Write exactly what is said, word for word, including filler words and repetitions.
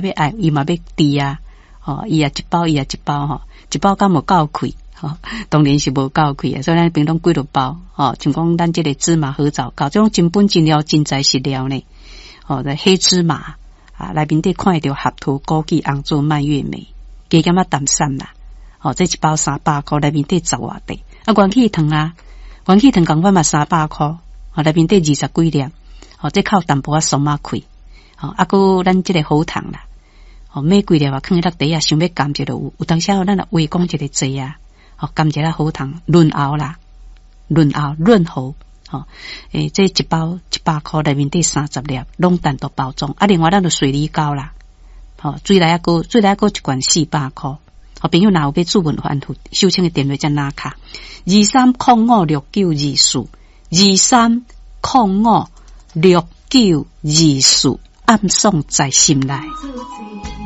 欲愛，伊嘛欲豬啊，吼，伊也一包，伊也一包吼，一包敢無夠氣，吼，當然是無夠氣啊，所以咱平常幾落包，吼，像講咱這個芝麻褐藻膏，這種真本真料真材實料呢，吼，黑芝麻啊，內面底看會著合桃、枸杞、紅棗、蔓越莓，加減仔淡散啦，吼，這一包三百箍，內面底十外塊，啊，元氣糖啊，元氣糖仝款嘛三百箍，吼，內面底二十幾粒，吼，這靠淡薄仔鬆仔氣，吼，啊，閣咱這個喉糖啦。吼，買幾粒啊，囥佇落袋仔，想欲含一下有，有當時咱若話講一个濟啊，吼，含一下喉糖潤喉啦，潤喉潤喉，吼，欸，這一包一百箍內面底三十粒，攏單獨包裝。啊，另外咱就水梨膏啦，吼，水梨仔膏，水梨仔膏一罐四百箍。好，朋友若有欲諮問反覆，收錢的電話才拿卡，二三空五六九二四，二三空五六九二四，暗爽在心內。